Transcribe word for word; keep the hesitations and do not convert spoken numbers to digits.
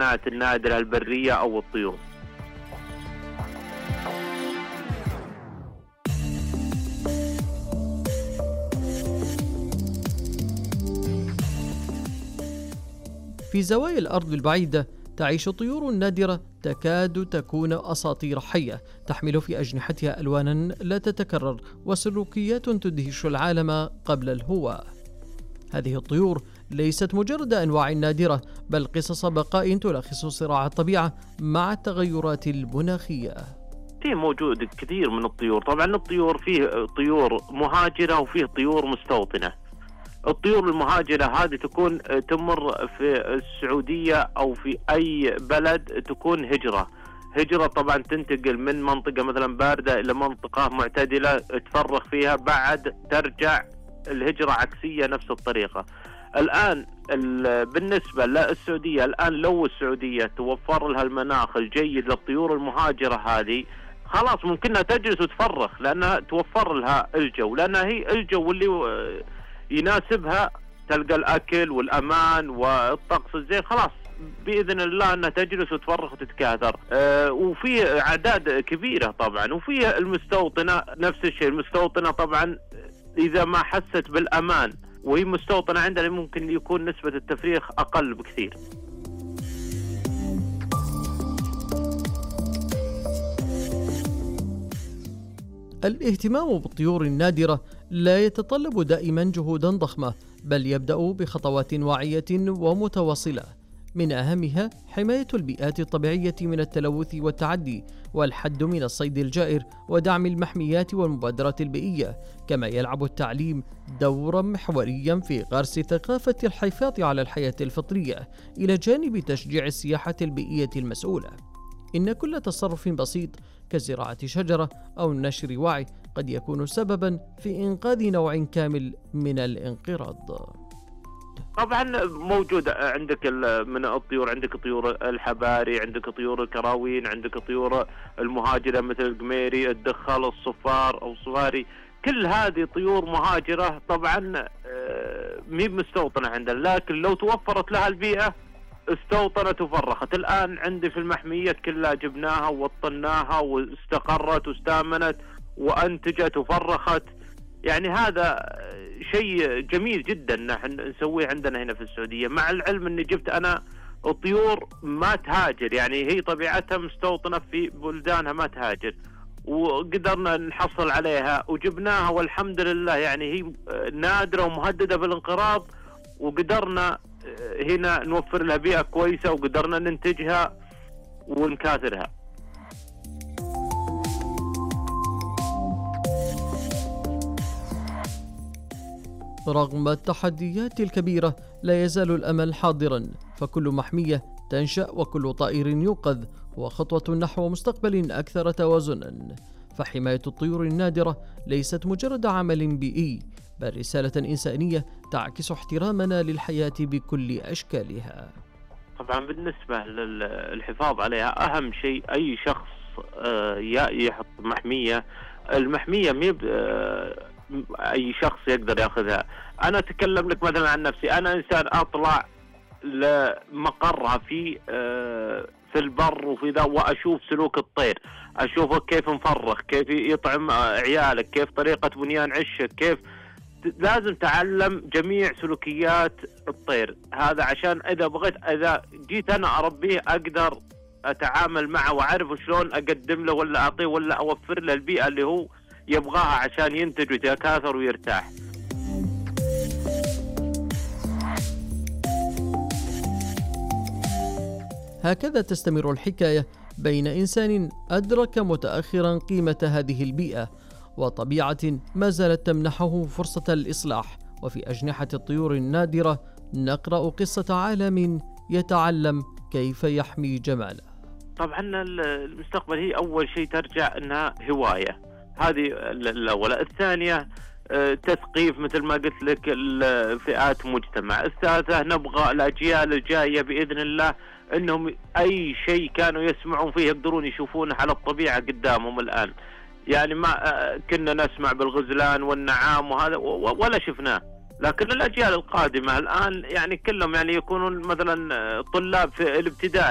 النادرة البرية أو الطيور. في زوايا الأرض البعيدة تعيش طيور نادرة تكاد تكون أساطير حية، تحمل في أجنحتها ألوانا لا تتكرر وسلوكيات تدهش العالم قبل الهواء. هذه الطيور ليست مجرد أنواع نادرة، بل قصص بقاء تلخص صراع الطبيعة مع التغيرات المناخية. فيه موجود كثير من الطيور. طبعا الطيور فيه طيور مهاجرة وفيه طيور مستوطنة. الطيور المهاجرة هذه تكون تمر في السعودية أو في أي بلد، تكون هجرة هجرة طبعا تنتقل من منطقة مثلا باردة إلى منطقة معتدلة، تفرغ فيها، بعد ترجع الهجرة عكسية نفس الطريقة. الآن بالنسبة للسعودية، الآن لو السعودية توفر لها المناخ الجيد للطيور المهاجرة هذه، خلاص ممكنها تجلس وتفرغ، لأنها توفر لها الجو، لأنها هي الجو اللي يناسبها، تلقى الأكل والأمان والطقس الزين، خلاص بإذن الله أنها تجلس وتفرغ وتتكاثر. أه وفي أعداد كبيرة طبعا. وفي المستوطنة نفس الشيء. المستوطنة طبعا إذا ما حست بالأمان وهي مستوطنة عندنا، ممكن يكون نسبة التفريغ أقل بكثير. الاهتمام بالطيور النادرة لا يتطلب دائما جهودا ضخمة، بل يبدأ بخطوات واعية ومتواصلة، من أهمها حماية البيئات الطبيعية من التلوث والتعدي، والحد من الصيد الجائر، ودعم المحميات والمبادرات البيئية. كما يلعب التعليم دورا محوريا في غرس ثقافة الحفاظ على الحياة الفطرية، إلى جانب تشجيع السياحة البيئية المسؤولة. إن كل تصرف بسيط كزراعة شجرة أو نشر وعي قد يكون سببا في إنقاذ نوع كامل من الانقراض. طبعا موجود عندك من الطيور، عندك طيور الحباري، عندك طيور الكراوين، عندك طيور المهاجرة مثل القميري، الدخل، الصفار أو الصفاري. كل هذه طيور مهاجرة طبعا مي مستوطنة عندنا، لكن لو توفرت لها البيئة استوطنت وفرخت. الآن عندي في المحميات كلها جبناها ووطناها واستقرت واستامنت وأنتجت وفرخت. يعني هذا شيء جميل جدا نحن نسويه عندنا هنا في السعودية، مع العلم أني جبت أنا الطيور ما تهاجر، يعني هي طبيعتها مستوطنة في بلدانها ما تهاجر، وقدرنا نحصل عليها وجبناها والحمد لله. يعني هي نادرة ومهددة بالانقراض، وقدرنا هنا نوفر لها بيئة كويسة وقدرنا ننتجها ونكاثرها. رغم التحديات الكبيرة لا يزال الأمل حاضرا، فكل محمية تنشأ وكل طائر يوقظ هو خطوة نحو مستقبل أكثر توازنا. فحماية الطيور النادرة ليست مجرد عمل بيئي، بل رسالة إنسانية تعكس احترامنا للحياة بكل أشكالها. طبعا بالنسبة للحفاظ عليها أهم شيء أي شخص يحط محمية. المحمية ميب أي شخص يقدر يأخذها. أنا أتكلم لك مثلا عن نفسي، أنا إنسان أطلع لمقرها في في البر وفي ذا وأشوف سلوك الطير، أشوفه كيف مفرخ، كيف يطعم عيالك، كيف طريقة بنيان عشك، كيف لازم تعلم جميع سلوكيات الطير هذا، عشان إذا بغيت إذا جيت أنا أربيه أقدر أتعامل معه وأعرف شلون أقدم له ولا أعطيه ولا أوفر له البيئة اللي هو يبغاها عشان ينتج ويتكاثر ويرتاح. هكذا تستمر الحكاية بين إنسان أدرك متأخرا قيمة هذه البيئة، وطبيعة ما زالت تمنحه فرصة الإصلاح. وفي أجنحة الطيور النادرة نقرأ قصة عالم يتعلم كيف يحمي جماله. طبعا المستقبل هي أول شيء ترجع أنها هواية، هذه الأولى. الثانية تثقيف مثل ما قلت لك الفئات مجتمع. الثالثة نبغى الأجيال الجاية بإذن الله أنهم أي شيء كانوا يسمعون فيه يقدرون يشوفونه على الطبيعة قدامهم الآن. يعني ما كنا نسمع بالغزلان والنعام وهذا ولا شفناه، لكن الأجيال القادمة الآن يعني كلهم يعني يكونون مثلا طلاب في الابتدائي